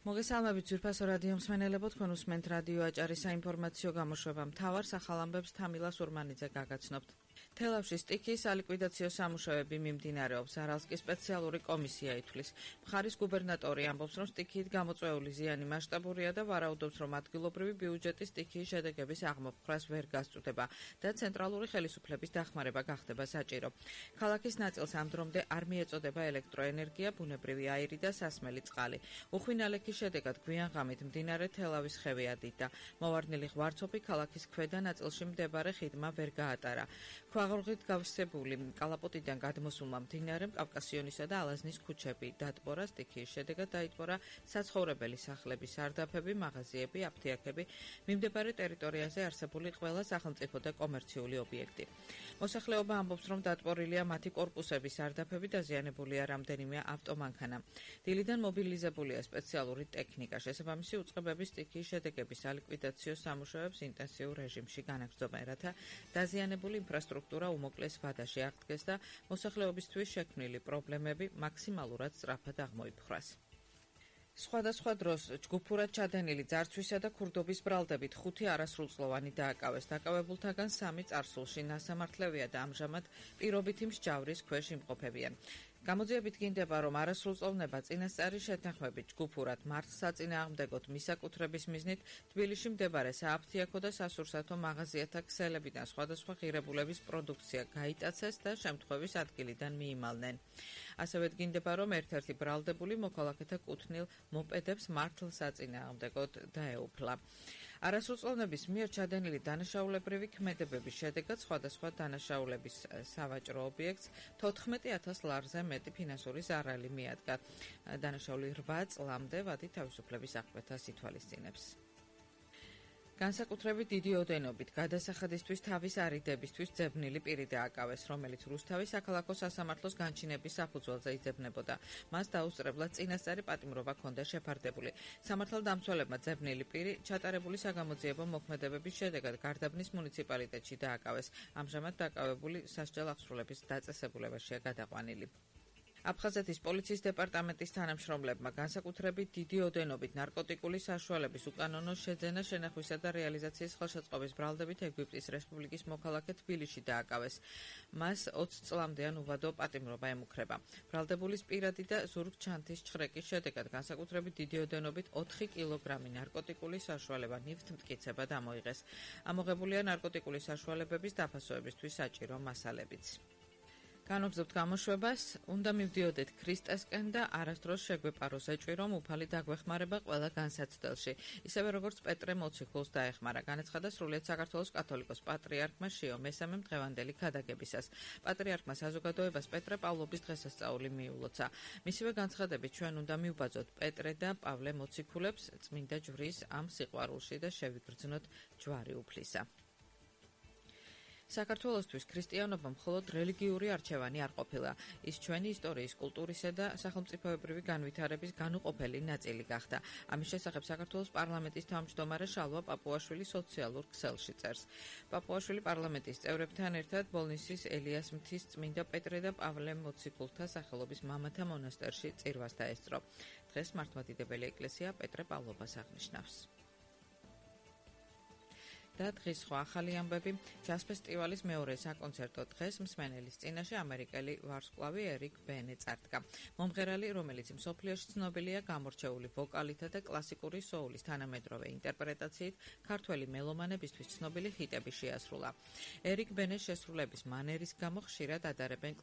მოგესალმებით ძვირფასო რადიო მსმენელებო, თქვენ უსმენთ რადიო აჭარის საინფორმაციო გამოშვება მთავარ სახალამბებს თამილა სურმანიძე გაგაცნობთ. თელავში სტიქიის სალიკვიდაციო სამუშაოები მიმდინარეობს. არალსკის სპეციალური კომისია ითვლის. მხარის გუბერნატორი ამბობს, რომ სტიქიით გამოწვეული ზიანი მასშტაბურია და ვარაუდობს, რომ ადგილობრივი ბიუჯეტის სტიქიის შედეგების აღმოფხვრას ვერ გასწვდება და ცენტრალური ხელისუფლების დახმარება გახდება საჭირო. ქალაქის ნაწილს ამ დრომდე არ მიეწოდება ელექტროენერგია, ბუნებრივი აირი და სასმელი წყალი. უხვინალექის შედეგად გვიან ღამით მდინარე თელავის ხევი ადიდა. მოვარდნილი ღვარცოფი ქალაქის ქვედა ნაწილში მდებარე ხიდმა ვერ გაატარა. ქვაღორღით გავსებული კალაპოტიდან გადმოსულმა მდინარემ კავკასიონისა და ალაზნის ქუჩები დატბორა. სტიქიის შედეგად დაიტბორა საცხოვრებელი სახლების სარდაფები, მაღაზიები, აფთიაქები, მიმდებარე ტერიტორიაზე არსებული ყველა სახელმწიფო და კომერციული ობიექტი. მოსახლეობა ამბობს, რომ დატბორილია მათი კორპუსების სარდაფები, დაზიანებულია რამდენიმე ავტომანქანა. დილიდან მობილიზებულია სპეციალური ტექნიკა. შესაბამისი უწყებების სტიქიის შედეგების სალიკვიდაციო სამუშაოებს ინტენსიურ რეჟიმში განაგრძობენ, რათა დაზიანებული ინფრასტრუქტურა უმოკლეს ვადაში აღდგეს და მოსახლეობისთვის შექმნილი პრობლემები მაქსიმალურად სწრაფად აღმოიფხვრას. სხვადასხვა დროს ჯგუფურად ჩადენილი ძარცვისა და ქურდობის ბრალდებით 5 არასრულწლოვანი დააკავეს. დაკავებულთაგან 3 წარსულში ნასამართლევია და ამჟამად პირობითი მსჯავრის ქვეშ იმყოფებიან. გამოძიებით გინდება, რომ არასრულწლოვნება წინასწარი შეთანხმებით ჯგუფურად მართლსაწინააღმდეგოდ მისაკუთრების მიზნით თბილისში მდებარე სააფთიაქო და სასურსათო მაღაზიათა ქსელებიდან სხვადასხვა ღირებულების პროდუქცია გაიტაცეს და შემთხვევის ადგილიდან მიიმალნენ. ასევე გინდება, რომ ერთ-ერთი ბრალდებული მოქალაქეთა კუთვნილ მოპედებს მართლსაწინააღმდეგოდ დაეუფლა. არასრულწლოვნების მიერ ჩადენილი დანაშაულებრივი ქმედებების შედეგად სხვადასხვა დანაშაულების სავაჭრო ობიექტს 14,000 ლარზე მეტი ფინანსური ზარალი მიადგა. დანაშაული 8 წლამდე ვადი თავისუფლების აღკვეთას ითვალისწინებს. განსაკუთრებით დიდი ოდენობით გადასახადისთვის თავის არიდებისთვის ძებნილი პირი დააკავეს, რომელიც რუსთავის საქალაქო სასამართლოს განჩინების საფუძველზე იძებნებოდა. მას დაუსწრებლად წინასწარი პატიმრობა ჰქონდა შეფარდებული. სამართალდამცველებმა ძებნილი პირი ჩატარებული საგამოძიებო მოქმედებების შედეგად გარდაბნის მუნიციპალიტეტში დააკავეს. ამჟამად დაკავებული სასჯელ აღსრულების დაწესებულებაშია გადაყვანილი. აფხაზეთის პოლიციის დეპარტამენტის თანამშრომლებმა განსაკუთრებით დიდი ოდენობით ნარკოტიკული საშუალების უკანონო შეძენა, შენახვისა და რეალიზაციის ხელშეწყობის ბრალდებით ეგვიპტის რესპუბლიკის მოქალაქე თბილისში დააკავეს. მას 20 წლამდეან უვადო პატიმრობა ემუქრება. ბრალდებულის პირადი და ზურგ-ჩანთის ჩხრეკის შედეგად განსაკუთრებით დიდი ოდენობით 4 კილოგრამი ნარკოტიკული საშუალება ნივთმტკიცება დამოიღეს. ამოღებულია ნარკოტიკული საშუალებების დაფასოებისთვის საჭირო მასალებიც. განვგზავნებთ გამოშვებას, უნდა მივდიოდეთ ქრისტესკენ და არასდროს შეგვეპაროს ეჭვი, რომ უფალი დაგვეხმარება ყველა განსაცდელში. ისევე როგორც პეტრე მოციქულს დაეხმარა, განაცხადა სრულიად საქართველოს კათოლიკოს პატრიარქმა შიო მესამემ დღევანდელი ქადაგებისას. პატრიარქმა საზოგადოებას პეტრე პავლობის დღესასწაული მიულოცა. მისივე განცხადებით ჩვენ უნდა მივბაძოთ პეტრე და პავლე მოციქულებს წმინდა ჯვრის ამ სიყვარულში და შევიგრძნოთ ჯვარი უფლისა. საქართველოსთვის ქრისტიანობა მხოლოდ რელიგიური არჩევანი არ ყოფილა. ის ჩვენი ისტორიის, კულტურისა და სახელმწიფოებრივი განვითარების განუყოფელი ნაწილი გახდა. ამის შესახებ საქართველოს პარლამენტის თავმჯდომარე შალვა პაპუაშვილი სოციალურ ქსელში წერს. პაპუაშვილი პარლამენტის წევრებთან ერთად ბოლნისის ელიას მთის წმინდა პეტრე და პავლე მოციქულთა სახელობის მამათა მონასტერში წირვას დაესწრო. დღეს მართლმადიდებელი ეკლესია პეტრე პავლობას აღნიშნავს. და დღის სხვა ახალი ამბები. ჯაზ ფესტივალის მეორე საკონცერტო დღეს მსმენელის წინაშე ამერიკელი ვარსკვლავი ერიკ ბენი წარდგა. მომღერალი, რომელიც მსოფლიოში ცნობილია გამორჩეული ვოკალითა და კლასიკური სოულის თანამედროვე ინტერპრეტაციით, ქართველი მელომანებისთვის ცნობილი ჰიტები შეასრულა. ერიკ ბენის შესრულების მანერის გამო ხშირად ადარებენ